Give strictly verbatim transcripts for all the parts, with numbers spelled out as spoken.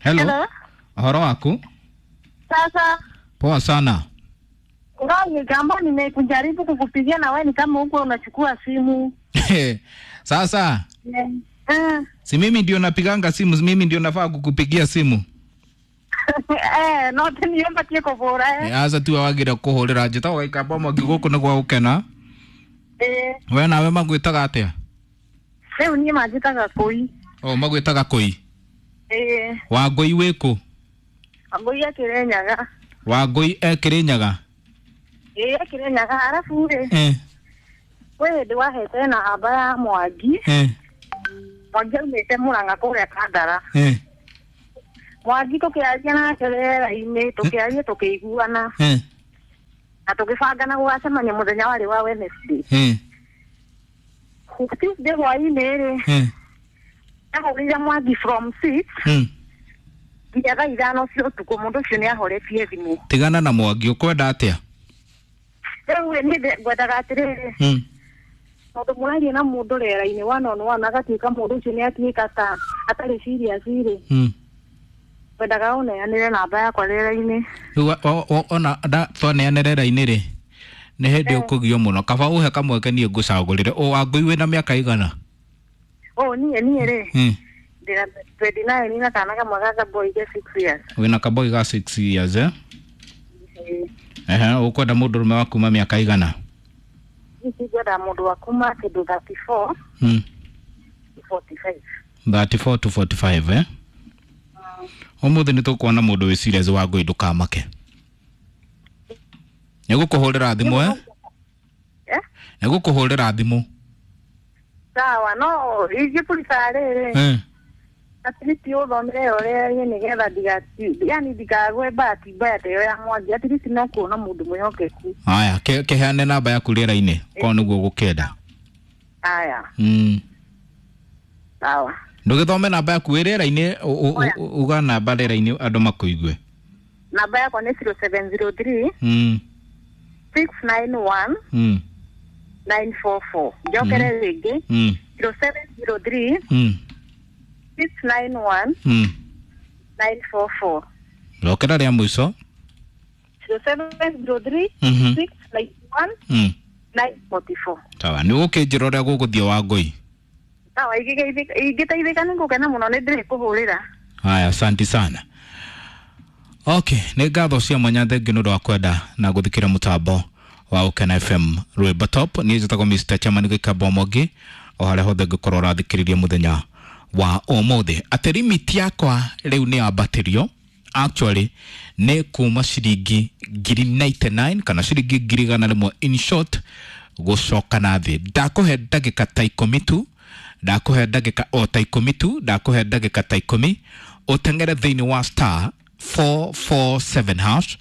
Hello. Hello. Ũhoro waku? Sasa Poa sana. Ngai kama nimekujaribu kukupigia na wewe ni kama huko unachukua simu. Sasa Eh. si mimi ndio napiganga simu, mimi ndio nafaa kukupigia simu. Eh, no niomba tie kũbũra eh. Aca tiwe wagire kũhũrĩra njĩtagwo Gĩikamba Mwangi gũkũ nĩ gwa gũkena. Eh, We nawe magwĩtaga atĩa? rĩu niĩ manjĩtaga kũi. O magwĩtaga kũi. Eh, Wangũi wĩkũ? Wangũi akĩrenyaga. Wangũi e Kĩrĩnyaga? Eh, akĩrenyaga arabu rĩ, Eh, kwĩ hĩndĩ wahete namba ya Mwangi. eh, Mwangi aumĩte Mũrang'a kũrĩa Kandara. eh, Mwangi tũkĩaria nake rĩera-inĩ, tũkĩaria tũkĩiguana eh, na tũgĩbangana gũgacemania mũthenya warĩ wa Wednesday. eh, Tuesday hwaĩ-inĩ rĩ, eh, ndahũrĩire Mwangi from six mm. nginya thaa ithano cia ũtukũ mũndũ ũcio nĩ ahoretie thimũ. Tigana na Mwangi ũkwenda atĩa? Rĩu rĩ, niĩ ndĩ- ngwendaga atĩrĩrĩ, Mm. tondũ mũraria na mũndũ rĩera-inĩ one on one agatuĩka mũndũ ũcio nĩ atuĩka ta atarĩ serious rĩ, Mm. ngwendaga ũneanĩre namba yakwa rĩera-inĩ. Rĩu wa- o- o- ona nda- twaneana rĩera-inĩ rĩ nĩ hĩndĩ ũkũgio mũno kaba ũhe kamweke niĩ ngũcagũrĩre. Ũ Wangũi wĩna mĩaka igana? Ũ niĩ niĩ rĩ, Mm. ndĩna twenty nine na kana kamwe ga kaboi ke six years. Wĩna kaboi ga six years eh? Ĩĩ. Ehe, ũkwenda mũndũrũme wa kuma mĩaka igana? Ici ngwenda mũndũ wa kuma kĩndũ thirty four Mm. to forty five. thirty four to forty five eh? Ũmũthĩ nĩ tũkuona mũndũ wĩ serious Wangũi ndũkamake. Nĩ gũkũhũrĩra thimũ eh? Eh? Nĩ gũkũhũrĩra thimũ. Sawa, no ingĩ prefer rĩrĩ, Eh. at least ũthomere ĩyo rĩera-inĩ nĩgetha ndigati yani ndikagwe bahati mbaya ta ĩyo ya Mwangi, at least no kuona mũndũ mwĩhokeku. Haya, ke- kĩheane namba yaku rĩera-inĩ korwo nĩguo ũgũkĩenda. Aya, Mm. sawa. Ndũgĩthome namba yaku wĩ rĩera-inĩ, ũ- ũ- Oya. ũ- uga namba rĩera-inĩ andũ makũigue. Namba yakwa nĩ zero seven zero three Mm. six nine one Mm. nine four four. Njokere rĩngĩ Mm. zero seven zero three Mm. six nine one Mm. nine four four. Rokera rĩa mũico. zero seven zero three Mhm. six nine one Mm. nine forty four. Sawa, nĩ ũgũkĩnjĩra ũrĩa gũgũthiĩ Wangũi. Sawa, ingĩgeithĩka ingĩteithĩka nĩ ngũkena mũno nĩ ndĩrĩkũhũrĩra. Haya, asanti sana. Okay, nĩ ngatho cia mwanya thengi nĩ ũndũ wa kwenda na gũthikĩra mũtambo wa Ũkena F M Rwĩmbo Top. Niĩ njĩtagwo Mister Chairman Gĩkamba Mwangi o harĩa hothe ngũkorwo ũrathikĩrĩria mũthenya wa ũmũthĩ. Atĩ limit yakwa rĩu nĩ yambatĩrio actually nĩ kuma ciringi ngiri ninety nine kana ciringi ngiri igana rĩmwe in short gũcoka na thĩ. Ndakũhe ndagĩka ta ikũmi tu, ndakũhe ndagĩka o ta ikũmi tu, ndakũhe ndagĩka ta ikũmi ũteng'ere thĩinĩ wa star four four seven hash,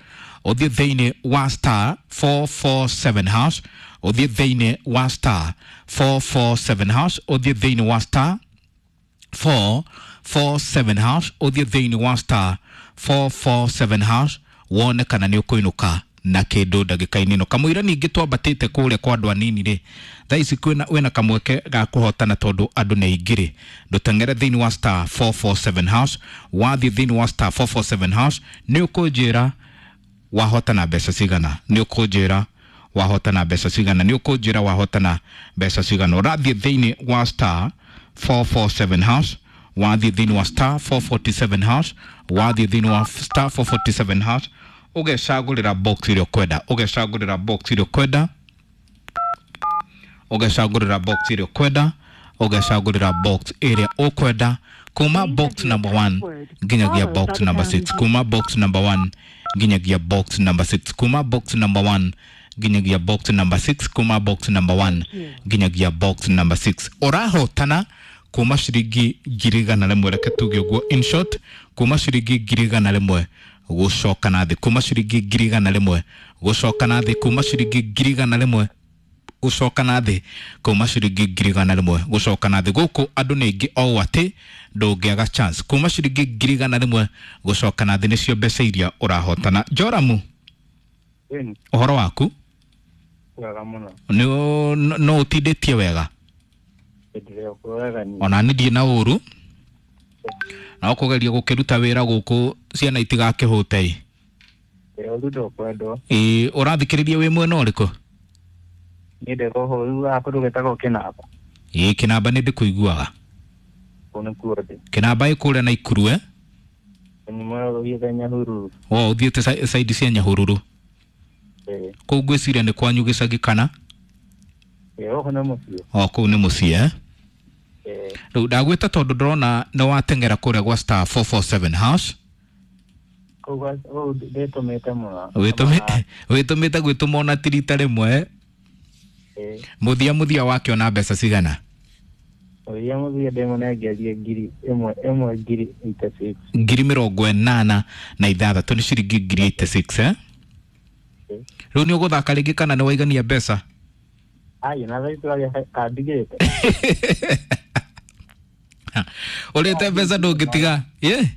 ũthiĩ thĩinĩ wa star four four seven hash, ũthiĩ thĩinĩ wa star four four seven hash, ũthiĩ thĩinĩ wa star four four seven hash, ũthiĩ thĩinĩ wa star four four seven hash wone kana nĩ ũkũinũka na kĩndũ ndagĩka-inĩ ĩno. Kamũira ningĩ twambatĩte kũrĩa kwa andũ anini rĩ, thaa ici kwĩna wĩna kamweke ga kũhotana tondũ andũ nĩ aingĩ rĩ, ndũteng'ere thĩinĩ wa star four four seven hash. Wathiĩ thĩinĩ wa star four four seven hash nĩ ũkũnjĩra wahotana mbeca cigana, nĩ ũkũnjĩra wahotana mbeca cigana, nĩ ũkũnjĩra wahotana mbeca cigana. Ũrathiĩ thĩinĩ wa star four four seven hash, wathiĩ thĩinĩ wa star four forty seven hash, wathiĩ thĩinĩ wa star four forty seven hash ũgecagũrĩra box ĩrĩa ũkwenda, ũgecagũrĩra box ĩrĩa ũkwenda, ũgecagũrĩra box ĩrĩa ũkwenda, ũgecagũrĩra box ĩrĩa ũkwenda kuma box number one nginyagia box number six, kuma box number one nginyagia box number six, kuma box number one nginyagia box number six, kuma box number one nginyagia box number six. Ũrahotana kuma ciringi ngiri igana rĩmwe, reke tuge ũguo in short, kuma ciringi ngiri igana rĩmwe gũcoka na thĩ, kuma ciringi ngiri igana rĩmwe gũcoka na thĩ, kuma ciringi ngiri igana rĩmwe gũcoka na thĩ, kuma ciringi ngiri igana rĩmwe gũcoka na thĩ. Gũkũ andũ nĩ aingĩ o atĩ ndũngĩaga chance. Kuma ciringi ngiri igana rĩmwe gũcoka na thĩ nĩcio mbeca iria ũrahotana. Joramu, Ĩni, ũhoro waku? wega mũno. Nĩ no ũtindĩtie wega? Hĩndĩ ĩrĩa wega niĩ. Ona niĩ ndirĩ na ũru. Na ũkũgeria gũkĩruta wĩra gũkũ ciana itigakĩhũte. Ĩ ũru ndũkwendwo. Ĩ ũrathikĩrĩria wĩ mwena ũrĩkũ? Niĩ ndĩ gũkũ rĩu haha kũndũ gwĩtagwo Kĩnamba. Ĩ Kĩnamba nĩ ndĩkũiguaga. Kũu nĩkuo ndĩ. Kĩnamba ĩ kũrĩa Naikuru eh? Nyuma ũthiĩte Nyahururu. O ũthiĩte side cia Nyahururu. Ĩ. Kũu ngwĩciria nĩ kwanyu gĩcagi kana? Ĩ gũkũ nĩ mũciĩ. O kũu nĩ mũciĩ eh? Ĩ. Rĩu ndagwĩta tondũ ndĩrona nĩ wateng'era kũrĩa gwa star four four seven hash. Kũu kũu ndĩtũmĩte mũno. Wĩtũmĩte gwĩtũma ona ti rita rĩmwe. Ĩ. Mũthia mũthia wakĩona mbeca cigana? Mũthia mũthia ndĩmũnengerie ngiri ĩmwe ĩmwe ngiri eighty six. Ngiri mĩrongo ĩnana na ithathatũ nĩ ciringi ngiri eighty six eh? Rĩu nĩ ũgũthaka rĩngĩ kana nĩ waigania mbeca? Ai, na thaa ici tũraria kandigĩte. Ũrĩte mbeca ndũngĩtiga? Ĩ?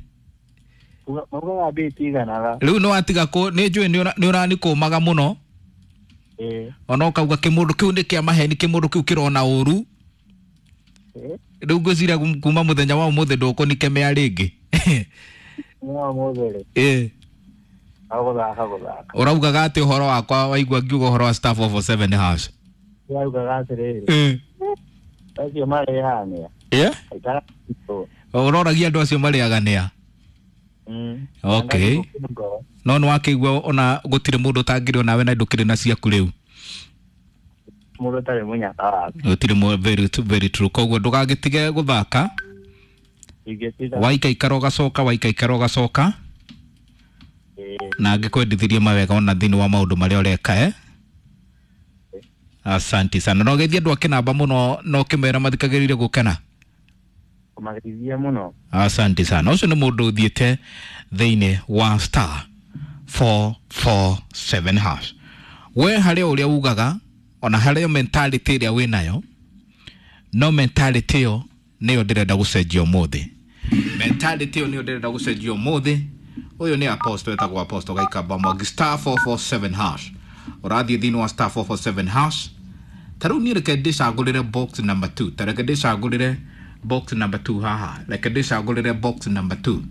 Maugaga mbia itiganaga. Rĩu nĩ watiga kũ nĩ njũĩ nĩ ũranikũmaga mũno. Ĩ. Ona ũkauga kĩmũndũ kĩu nĩ kĩa maheni, kĩmũndũ kĩu kĩrona ũru. Ĩ. Rĩu ngwĩciria kuma mũthenya wa ũmũthĩ ndũkũnikemea rĩngĩ. Mũthenya wa ũmũthĩ rĩ. Ĩ. Gũthaka gũthaka. Ũraugaga atĩ ũhoro wakwa waigua ngiuga ũhoro wa star four four seven hash? Ndĩraugaga atĩrĩrĩ. Ĩ. Acio marĩaga nĩa? Ĩ? Aikara. Ũroragia andũ acio marĩaga nĩa? Mm. Okay. No nĩ wakĩigua ona gũtirĩ mũndũ ũtangĩrĩ onawe na ndũkĩrĩ na ciaku rĩu. Mũndũ ũtarĩ mũnyaka waku. Gũtirĩ mũ very very true. Koguo ndũgagĩtige gũthaka. Ingĩtiga. Waikaikara ũgacoka, waikaikara ũgacoka. Na angĩkwendithirie mawega ona thĩinĩ wa maũndũ marĩa ũreka eh? Asante sana. No geithie andũ a Kĩnamba mũno na ũkĩmera mathikagĩrĩrie gũkena. Kũmageithia mũno. Asante sana. Ũcio nĩ mũndũ ũthiĩte thĩinĩ wa star four four seven hash. We harĩa ũrĩa ugaga ona harĩa mentality ĩrĩa wĩnayo, no mentality ĩyo nĩyo ndĩrenda gũcenjia ũmũthĩ. Mentality ĩyo nĩyo ndĩrenda gũcenjia ũmũthĩ. Ũyũ nĩ apostle etagwo Apostle Gaikamba Mwangi star four four seven hash. Ũrathiĩ thĩinĩ wa star four four seven hash. Ta rĩu niĩ reke ndĩcagũrĩre box number two. Ta reke ndĩcagũrĩre box number two haha. Reke ndĩcagũrĩre box number two.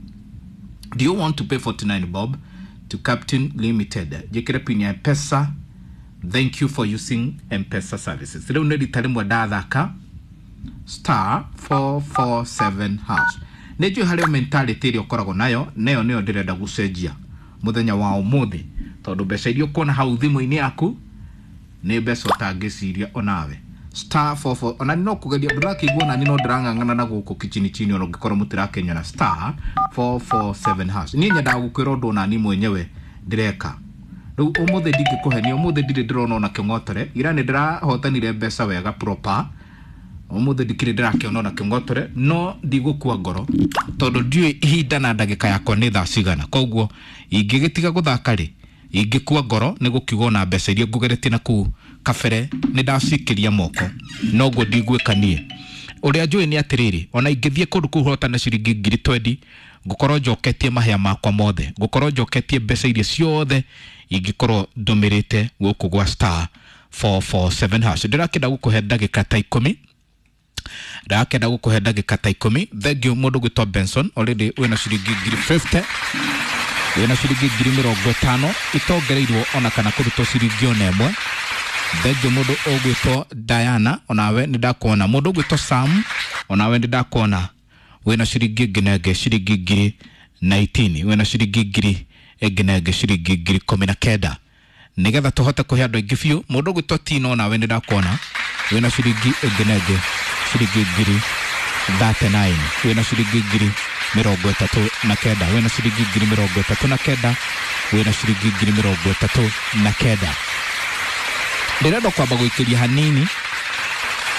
Do you want to pay forty-nine bob to Captain Limited? Njĩkĩre pin ya M-Pesa. Thank you for using M-Pesa services. Rĩu nĩ rita rĩmwe ndathaka star four four seven hash. Nĩ njũĩ harĩa mentality ĩrĩa ũkoragwo nayo, nayo nĩyo ndĩrenda gũcenjia mũthenya wa ũmũthĩ, tondũ mbeca iria ũkuona hau thimũ-inĩ yaku nĩ mbeca ũtangĩciria onawe. Star four four ona no kũgeria ndũrakĩigua nani no ndĩrang'ang'ana na gũkũ kichini chini ona ũngĩkorwo mũtirakĩnyona star four four seven hash. Niĩ nyendaga gũkwĩra ũndũ onani mwenyewe ndĩreka. Rĩu ũmũthĩ ndingĩkũhenia, ũmũthĩ ndirĩ ndĩrona ona kĩng'otore. Ira nĩ ndĩrahotanire mbeca wega proper. Ũmũthĩ ndikĩrĩ ndĩrakĩona ona kĩng'otore, no ndigũkua ngoro tondũ ndiũĩ ihinda na ndagĩka yakwa nĩ thaa cigana. Koguo ingĩgĩtiga gũthaka rĩ, ingĩkua ngoro nĩ gũkiuga ona mbeca iria ngũgeretie na kũu kabere nĩ ndacikĩria moko, noguo ndigwĩka niĩ. Ũrĩa njũĩ nĩ atĩrĩrĩ, ona ingĩthiĩ kũndũ kũu hotane ciringi ngiri twendi, ngũkorwo njoketie mahĩa makwa mothe, ngũkorwo njoketie mbeca iria ciothe ingĩkorwo ndũmĩrĩte gũkũ gwa star four four seven hash. Ndĩrakĩenda gũkũhe ndagĩka ta ikũmi. Ndakenda gũkũhe ndagĩka ta ikũmi. Thank you mũndũ gwĩtwo Benson, already wĩna ciringi ngiri fifty, wĩna ciringi ngiri mĩrongo ĩtano itongereirwo ona kana kũrutwo ciringi ona ĩmwe. Thank you mũndũ ũgwĩtwo Diana, onawe nĩ ndakuona. Mũndũ ũgwĩtwo Sam, onawe nĩ ndakuona. Wĩna ciringi ĩngĩ na ĩngĩ ciringi ngiri nineteen, wĩna ciringi ngiri ĩngĩ na ĩngĩ ciringi ngiri ikũmi na kenda. Nĩgetha tũhote kũhe andũ aingĩ biũ. Mũndũ ũgwĩtwo Tino, onawe nĩ ndakuona. Wĩna ciringi ĩngĩ na ĩngĩ ciringi ngiri thirty nine, wĩna ciringi ngiri mĩrongo ĩtatũ na kenda, wĩna ciringi ngiri mĩrongo ĩtatũ na kenda, wĩna ciringi ngiri mĩrongo ĩtatũ na kenda. Ndĩrenda kwamba gũikĩria hanini,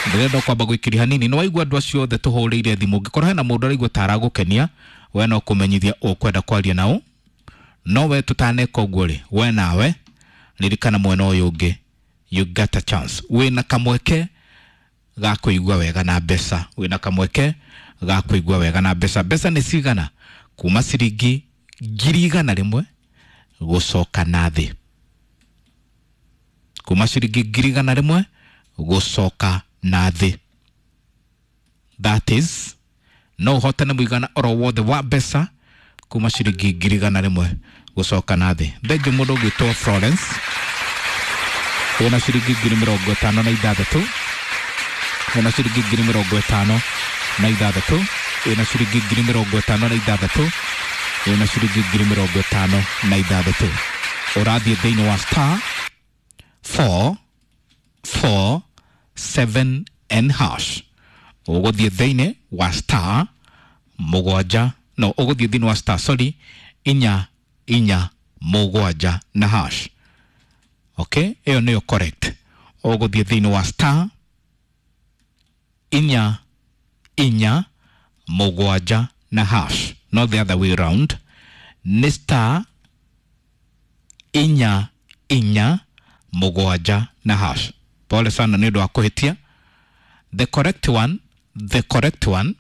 ndĩrenda kwamba gũikĩria hanini. Nĩ waigua andũ acio othe tũhũrĩire thimũ, ũngĩkorwo hena mũndũ araigua ta aragũkenia, we no kũmenyithia ũkwenda kwaria nao. No we tũtaneka ũguo rĩ, we nawe ririkana mwena ũyũ ũngĩ, you got a chance. Wĩna kamweke ga kũigua wega na mbeca, wĩna kamweke ga kũigua wega na mbeca. Mbeca nĩ cigana? Kuma ciringi ngiri igana rĩmwe gũcoka na thĩ, kuma ciringi ngiri igana rĩmwe gũcoka na thĩ. That is No ũhotane mũigana oro wothe wa mbeca kuma ciringi ngiri igana rĩmwe gũcoka na thĩ. Thengiũ mũndũ ũgwĩtwo Florence wĩna ciringi ngiri mĩrongo ĩtano na ithathatũ, wĩna ciringi ngiri mĩrongo ĩtano na ithathatũ, wĩna ciringi ngiri mĩrongo ĩtano na ithathatũ, wĩna ciringi ngiri mĩrongo ĩtano na ithathatũ. Ũrathiĩ thĩinĩ wa star four four seven n hash. Ũgũthiĩ thĩinĩ wa star mũgwanja, no ũgũthiĩ thĩinĩ wa star, sorry, inya inya mũgwanja na hash. Okay, ĩyo nĩyo correct. Ũgũthiĩ thĩinĩ wa star inya inya mũgwanja na hash, not the other way round. Nĩ star inya inya mũgwanja na hash. Pole sana nĩ ũndũ wa kũhĩtia. The correct one, the correct one,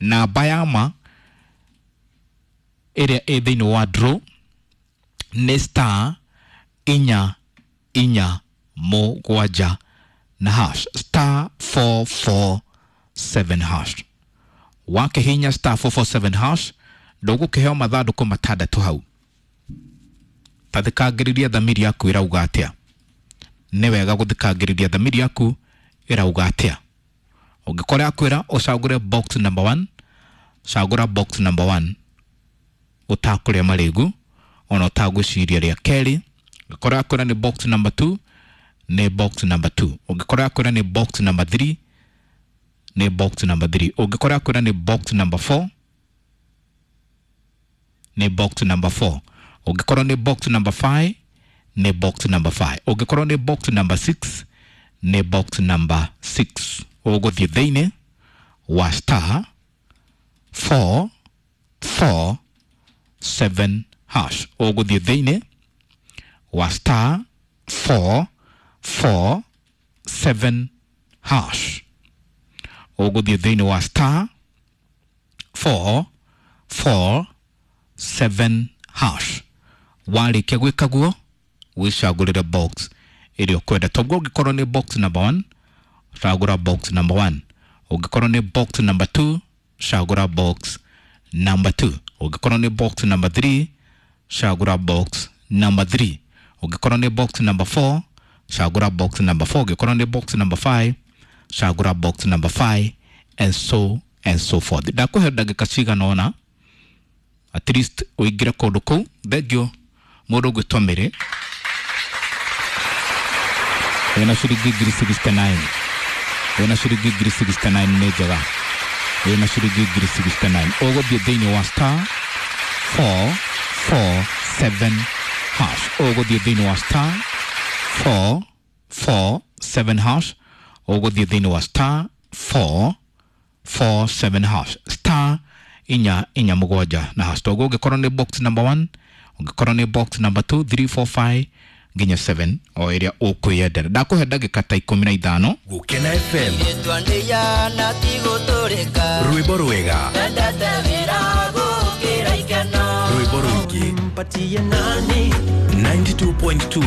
namba ya ma ĩrĩa ĩ thĩinĩ wa draw nĩ star inya inya mũgwanja na hash, star four four seven hash. Wakĩhihinya star four four seven hash ndũgũkĩheo mathandũkũ matandatũ hau. Ta thikangĩrĩria thamiri yaku ĩrauga atĩa. Nĩ wega gũthikangĩrĩria thamiri yaku ĩrauga atĩa. Ũngĩkorwo yakwĩra ũcagũre box number one, cagũra box number one ũtakũrĩa marĩgu ona ũtagwĩciria rĩa kerĩ. Ũngĩkorwo yakwĩra nĩ box number two, nĩ box number two. Ũngĩkorwo yakwĩra nĩ box number three, nĩ box number three. Ũngĩkorwo yakwĩra nĩ box number four, nĩ box number four. Ũngĩkorwo nĩ box number five, nĩ box number five. Ũngĩkorwo nĩ box number six, nĩ box number six. Ũgũthiĩ thĩinĩ wa star four four seven hash. Ũgũthiĩ thĩinĩ wa star four four seven hash. Ũgũthiĩ thĩinĩ wa star four four seven hash. Warĩkia gwĩka guo wĩcagũrĩre box ĩrĩa ũkwenda. Toguo ũngĩkorwo nĩ box number one, cagũra box number one. Ũngĩkorwo nĩ box number two, cagũra box number two. Ũngĩkorwo nĩ box number three, cagũra box number three. Ũngĩkorwo nĩ box number four, cagũra box number four. Ũngĩkorwo nĩ box number five, cagũra box number five, and so and so forth. Ndakũhe ndagĩka cigana ũna at least ũingĩre kũndũ kũu. Thengiũ mũndũ ũgwĩtwo Mĩrĩ wĩna ciringi ngiri sixty nine, wĩna ciringi ngiri sixty nine nĩ njega, wĩna ciringi ngiri sixty nine. Ũgũthiĩ thĩinĩ wa star four four seven hash. Ũgũthiĩ thĩinĩ wa star four four seven hash. Ũgũthiĩ thĩinĩ wa star four four seven hash, star inya inya mũgwanja na hash. Toguo ũngĩkorwo nĩ box number one, ũngĩkorwo nĩ box number two, three, four, five nginya seven, o ĩrĩa ũkwĩyendera. Ndakũhe ndagĩka ta ikũmi na ithano. Gũkena F M, rwĩmbo rwega, rwĩmbo rũingĩ, ninety two point two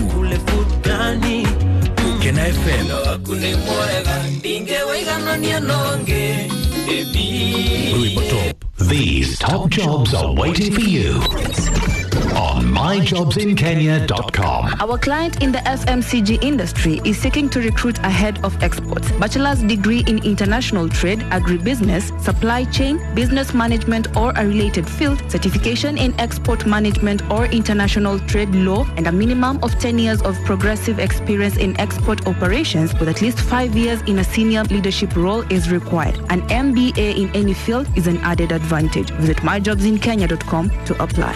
Gũkena F M. Rwĩmbo top. These top jobs are waiting for you on my jobs in kenya dot com. Our client in the F M C G industry is seeking to recruit a head of exports, bachelor's degree in international trade, agribusiness, supply chain, business management or a related field, certification in export management or international trade law, and a minimum of ten years of progressive experience in export operations with at least five years in a senior leadership role is required. An M B A in any field is an added advantage. Visit my jobs in kenya dot com to apply.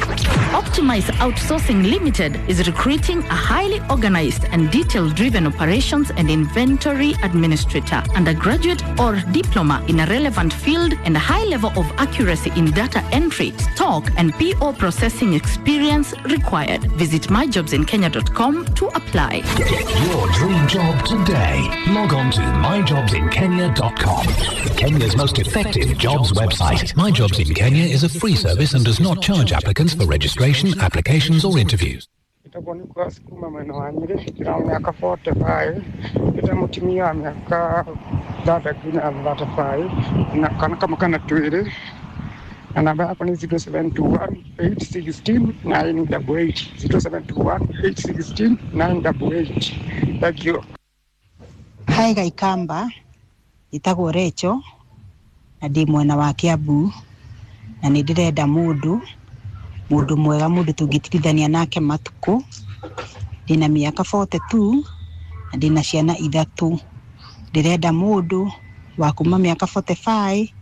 Optimize Outsourcing Limited is recruiting a highly organized and detail-driven operations and inventory administrator, undergraduate or diploma in a relevant field, and a high level of accuracy in data entry, stock, and P O processing experience required. Visit my jobs in kenya dot com to apply. Get your dream job today. Log on to my jobs in kenya dot com. Kenya's most effective jobs website. My Jobs in Kenya is a free service and does not charge applicants for registration, applications or interviews. Njĩtagwo Nicholas kuma mwena wa Nyĩrĩ, ndĩna mĩaka forty five, ndĩna mũtumia wa mĩaka thirty nginya thirty five, na kana kamwe kana twĩrĩ, na namba yakwa nĩ zero seven two one eight sixteen nine double eight, zero seven two one eight sixteen nine double eight. Thank you. Hi Gaikamba, njĩtagwo Recho na ndĩ mwena wa Kiambu na nĩ ndĩrenda mũndũ mũndũ mwega, mũndũ tũngĩtigithania nake matukũ. Ndĩna mĩaka forty two na ndĩna ciana ithatũ. Ndĩrenda mũndũ wa kuma mĩaka forty five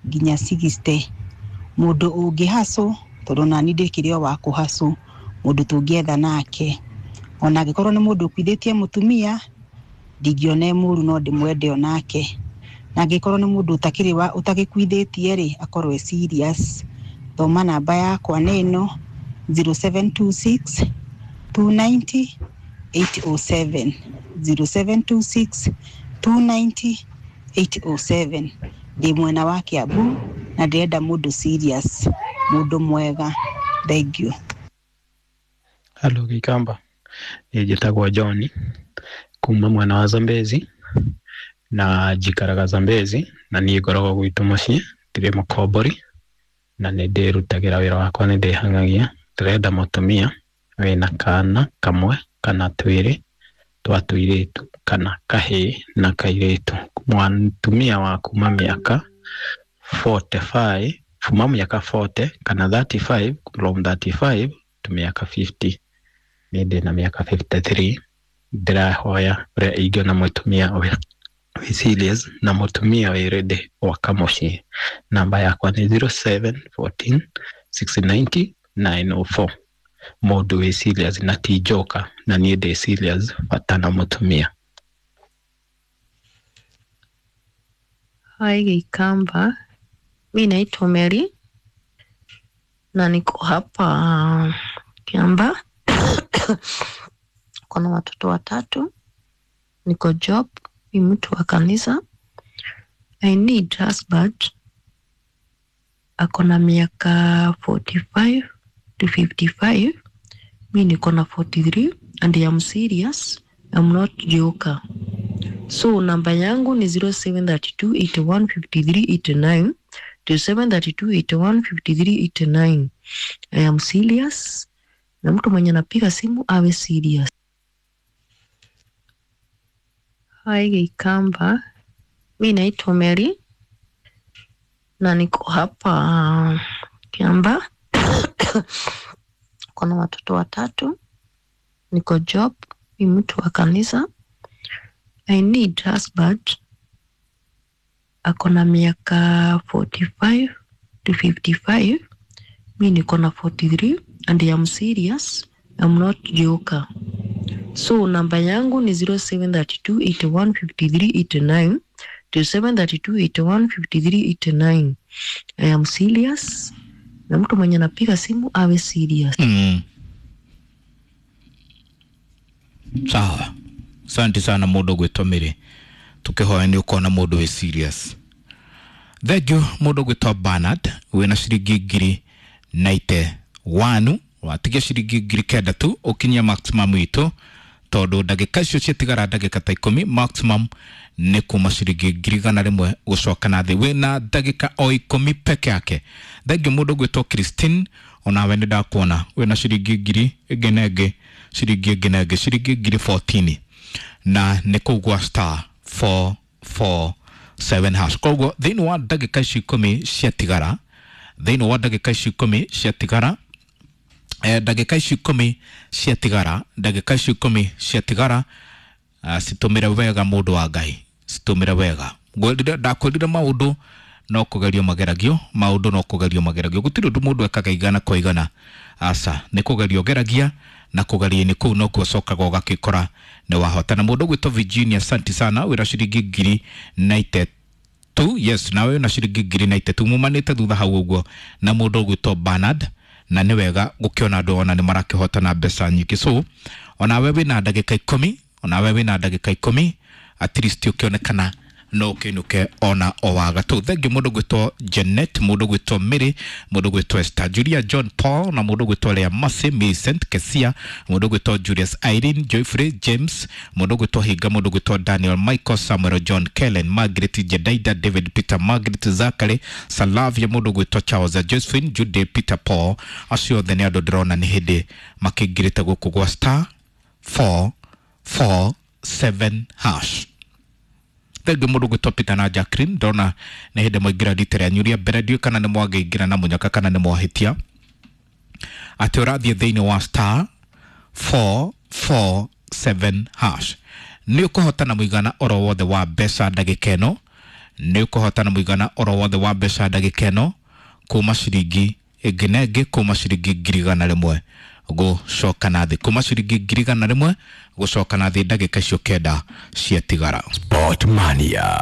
nginya sixty, mũndũ ũngĩ hustle tondũ nani ndĩkĩrĩ o wa kũ hustle, mũndũ tũngĩetha nake. Ona angĩkorwo nĩ mũndũ ũkuithĩtie mũtumia ndingĩona e mũru no ndĩmwende onake. Na angĩkorwo nĩ mũndũ ũtakĩrĩ wa ũtagĩkuithĩtie rĩ, akorwo e serious. Thoma namba yakwa nĩ ĩno zero seven two six two ninety eight oh seven, zero seven two six two ninety eight oh seven. Ndĩ mwena wa Kiambu na ndĩrenda mũndũ serious, mũndũ mwega. Thank you. Hello Gikamba, niĩ njĩtagwo John kuma mwena wa Zambezi na njikaraga Zambezi na niĩ ngoragwo gwitũ mũciĩ, ndirĩ mũkombori na nĩ ndĩrutagĩra wĩra wakwa, nĩ ndĩhang'agia. Ndĩrenda mũtumia wĩna kana kamwe kana twĩrĩ twa tũirĩtu kana kahĩĩ na kairĩtu, mũtumia wa kuma mĩaka forty five, kuma mĩaka forty kana thirty five, from thirty five to mĩaka fifty. Niĩ ndĩna mĩaka fifty three. Ndĩrahoya ũrĩa ingĩona mũtumia wĩ wĩ serious na mũtumia wĩ ready gwaka mũciĩ. Namba yakwa nĩ zero seven fourteen six ninety nine oh four. Mũndũ wĩ serious na ti njoka, na niĩ ndĩ serious bata na mũtumia. Hi Gikamba, mi naitwa Mary na niko hapa Kiamba. Kuna watoto watatu, niko job, ni mtu wa kanisa. I need husband ako na miaka forty five to fifty five. Mi niko na forty three and I am serious, I'm not joker. So namba yangu ni zero seven thirty two eighty one fifty three eighty nine, zero seven thirty two eighty one fifty three eighty nine. I am serious na mtu mwenye anapiga simu awe serious. Hi Gikamba, mi naitwa Mary na niko hapa Kiamba. Kuna watoto watatu, niko job, ni mtu wa kanisa. I need husband ako na miaka forty five to fifty five. Mi niko na forty three and I am serious, I'm not joker. So namba yangu ni zero seven thirty two eighty one fifty three eighty nine, zero seven thirty two eighty one fifty three eighty nine. I am serious na mtu mwenye anapiga simu awe serious. Mm. Sawa. Asante sana mũndũ ũgwĩtwo Mary, tukihoya nĩ ũkona mũndũ wĩ serious. Thank you mũndũ ũgwĩtwo Bernard wĩna ciringi ngiri ninety one, watigia ciringi ngiri kenda tu ũkinyie maximum itũ, tondũ ndagĩka icio ciatigara ndagĩka ta ikũmi, maximum nĩ kuma ciringi ngiri igana rĩmwe gũcoka na thĩ. Wĩna ndagĩka o ikũmi peke yake. Thank you mũndũ ũgwĩtwo Christine, onawe nĩ ndakuona wĩna ciringi ngiri ĩngĩ na ĩngĩ, ciringi ĩngĩ na ĩngĩ, ciringi ngiri fourteen, na nĩ kũu gwa star four four seven hash. Koguo thĩinĩ wa ndagĩka ici ikũmi ciatigara, thĩinĩ wa ndagĩka ici ikũmi ciatigara, eh, ndagĩka ici ikũmi ciatigara, ndagĩka ici ikũmi ciatigara, uh, citũmĩre wega mũndũ wa Ngai, citũmĩre wega. Ngwĩrire, ndakwĩrire maũndũ no kũgerio mageragio, maũndũ no kũgerio mageragio. Gũtirĩ ũndũ mũndũ ekaga igana kwa igana, aca nĩ kũgerio ũgeragia, na kũgeria-inĩ kũu nokuo ũcokaga ũgakĩkora nĩ wahota. Na mũndũ ũgwĩtwo Virginia, asante sana, wĩra ciringi ngiri ninety two. Yes, nawe wĩna ciringi ngiri ninety two, mumanĩte thutha hau ũguo na mũndũ ũgwĩtwo Bernard, na nĩ wega gũkĩona andũ ona nĩ marakĩhota na mbeca nyingĩ. So onawe wĩna ndagĩka ikũmi, onawe wĩna ndagĩka ikũmi, at least ũkĩonekana No ũkĩinũke ona o wa gatũ. Thengiũ mũndũ gwĩtwo Janet, mũndũ gwĩtwo Mary, mũndũ gwĩtwo Esther, Julia John Paul na mũndũ gwĩtwo Lea Mercy, Millicent Kesia, mũndũ gwĩtwo Julius Irene, Joyfrey James, mũndũ gwĩtwo Hinga, mũndũ gwĩtwo Daniel Michael, Samuel John Kellen, Margaret Jedaida, David Peter, Margaret Zachary, Salavia, mũndũ gwĩtwo Charles, Josephine Jude, Peter Paul. Acio othe nĩ andũ ndĩrona nĩ hĩndĩ makĩingĩrĩte gũkũ gwa star four four seven hash. Thengiũ mũndũ gwĩtwo Peter na Jacqueline, ndona nĩ hĩndĩ mwaingĩra rita rĩanyu rĩa mbere, ndiũĩ kana nĩ mwangĩingĩra na mũnyaka kana nĩ mwahĩtia atĩ ũrathiĩ thĩinĩ wa star four four seven hash nĩ ũkũhotana mũigana oro wothe wa mbeca ndagĩka ĩno, nĩ ũkũhotana mũigana oro wothe wa mbeca ndagĩka ĩno kuma ciringi ĩngĩ na ĩngĩ, kuma ciringi ngiri igana rĩmwe gũcoka na thĩ, kuma ciringi ngiri igana rĩmwe gũcoka na thĩ ndagĩka icio kenda ciatigara. Sport Mania.